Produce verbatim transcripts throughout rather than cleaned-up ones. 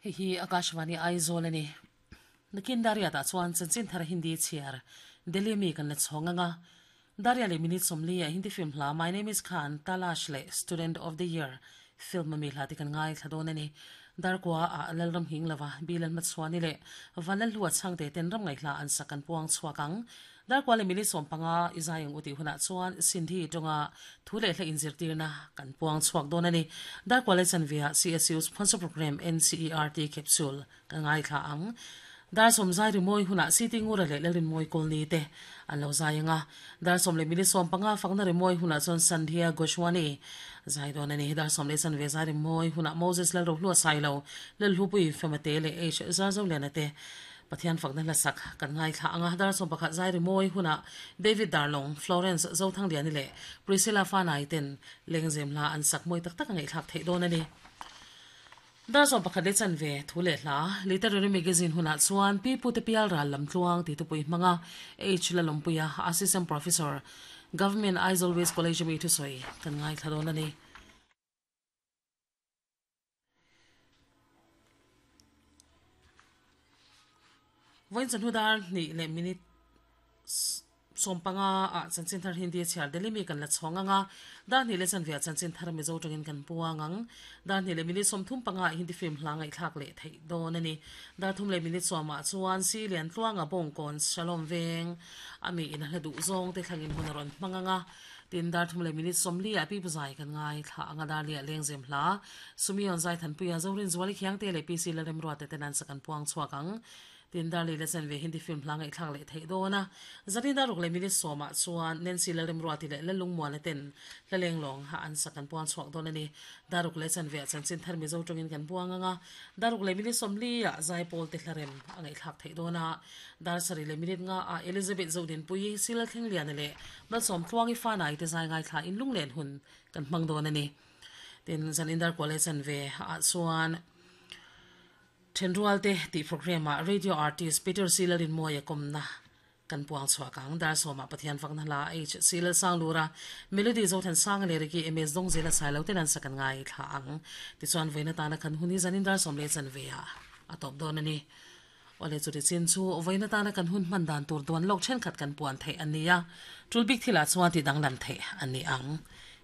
Hei hi Akashvani Aizawl ani. Nakin Daria ta chuan chanchin thar Hindi chhiar Delhi mi kan la chhawng anga. Daria leh minute sawmli ah Hindi film hla My Name is Khan, Talash leh Student of the Year film ami hla te kan ngai thla dawn ani. Darkua ah Lalram hing lova Bilal Machhuani leh Vanlalhlua chhangte ten ram ngaihla an sak kan puang chhuak ang. Darkua leh minute sawm panga i zai ang u tih hunah chuan Sindhi tawnga thu leh hla inzirtirna kan puang chhuak dawn ani. Darkua leh chanve ah C S U sponsor program N C E R T capsule kan ngai thla ang. Dar sawm zai rimawi hunah City Ngura leh Lalrinmawi Kawlni te an lo zai anga. Dar sawm leh minute sawm panga fakna rimawi hunah chuan Sandhya Goswami zai dawn ani. Dar sawm leh chanve zai rimawi hunah Moses Lalrohlua Sailo, Lalhlupui Femate leh H Zarzoliana te Pathian fakna hla sak kan ngai thla anga. Dar sawm pakhat zai rimawi hunah David Darlong, Florence Zothangliani leh Priscilla Fanai ten lengzem hla an sak mawi tak tak a ngaihthlak theih dawn ani. Dar sawm pakhat leh chanve thu leh hla Literary Magazine hunah chuan Pi Pute Pial Ral Lam Tluang ti tupui hmanga H Lalawmpuia, Assistant Professor, Government Aizawl West College ami thusawi kan ngai thla dawn ani. Vawiin chawhnu dar hnih leh minute sawm panga ah chanchin thar Hindi chhiar Delhi mi kan la chhawng anga. Dar hnih leh chanve ah chanchin thar Mizo tangin kan puang ang. Dar hnih leh minute sawmthum panga ah Hindi film hla ngaihthlak leh theih dawn ani. Dar thum leh minute sawm ah chuan Si Lian Tluanga Bawngkawn Shalom Veng ami in a hla duh zawng te thlangin hun a rawn hmang anga. Tin dar thum leh minute sawmli ah Pi Puzai kan ngai thla anga dar li ah lengzem hla Sumion Zai Thanpuia Zorin Zuali Khiangte leh P C Lalremruate ten an sak an puang chhuak ang. Tin dar li leh chanve Hindi film hla ngaihthlak leh theih dawn a. Zanin dar ruk leh minute sawm ah chuan Nancy Lalremruati leh Lalungmuana ten hla lenglawng ha an sak an puang chhuak dawn ani. Dar ruk leh chanve ah chanchin thar Mizo tawngin kan buang anga. Dar ruk leh minute sawmli ah Zaipawl te hlarem a ngaihthlak theih dawn a. Dar sarih leh minute nga ah Elizabeth Zodinpuii, Sila Thlengliana leh Malsawm Tluangi Fanai te zai ngaithla in lunglen hun kan hmang dawn ani. Tin zanin dar kua leh chanve ah chuan Thenrual te tih program ah radio artist Peter C Lalinmawia kawmna kan puang chhuak ang. Dar sawm ah Pathian fakna hla H C Lalsanglura, Melody Zothansanga leh Ricky M S Dawngzela Sailo ten an sak an ngai thla ang. Tichuan vawiin atana kan hun hi zanin dar sawm leh chanve ah a tawp dawn ani. Awle chuti chin chu vawiin atana kan hun hman dan tur duan lawk thenkhat kan puan theih an ni a. Tul bik thilah chuan ti danglam theih an ni ang.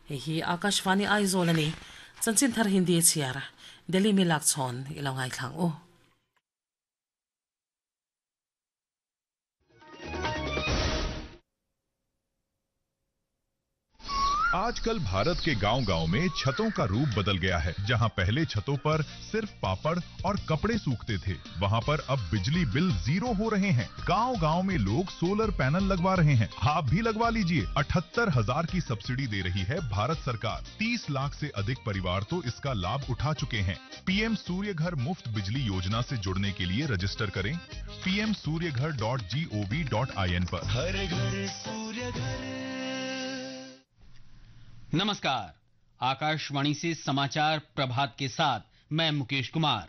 Hei hi Akashvani Aizawl ani. Chanchin thar Hindi chhiar Delhi mi lak chhawn i lo ngaithlang u. आजकल भारत के गांव-गांव में छतों का रूप बदल गया है। जहां पहले छतों पर सिर्फ पापड़ और कपड़े सूखते थे, वहां पर अब बिजली बिल जीरो हो रहे हैं। गांव-गांव में लोग सोलर पैनल लगवा रहे हैं। आप भी लगवा लीजिए। अठहत्तर हजार की सब्सिडी दे रही है भारत सरकार। तीस लाख से अधिक परिवार तो इसका लाभ उठा चुके हैं। पीएम सूर्य घर मुफ्त बिजली योजना से जुड़ने के लिए रजिस्टर करें पीएम सूर्य घर dot G O V dot I N पर। हर घर सूर्य घर। नमस्कार, आकाशवाणी से समाचार प्रभात के साथ मैं मुकेश कुमार।